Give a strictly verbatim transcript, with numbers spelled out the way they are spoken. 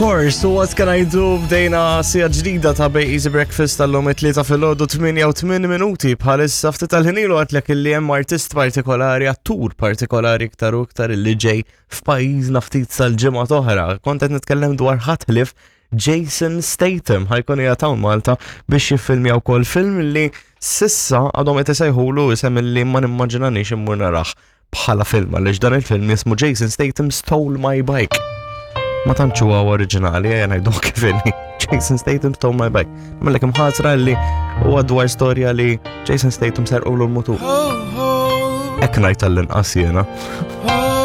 Course, what can I do? Bdejna siegħa ġdida ta' Bay Easy Breakfast tal-lum it-tlieta filgħodu tmienja u tmien minuti. Bħalissa ftit tal-ħin ilu għedtlek illi hemm artist partikolari, attur partikolari iktar u iktar, illi ġej f'pajjiżna ftit sal-ġimgħa oħra. Kont qed nitkellem dwar ħadd ħlief Jason Statham. Ħa jkun qiegħed hawn Malta biex jiffilmja wkoll film li s'issa għadhom qed isejħulu isem illi ma nimmaġinanix immur narah bħala film, għaliex dan il-film jismu Jason Statham Stole My Bike. Ma tantx huwa oriġinali, ejja ngħidu kif inhi. Jason Statham Stole My Bike. Mellek imħasra li huwa dwar storja li Jason Statham serqulu l-mutur. Hekk ngħid tal-inqas jiena.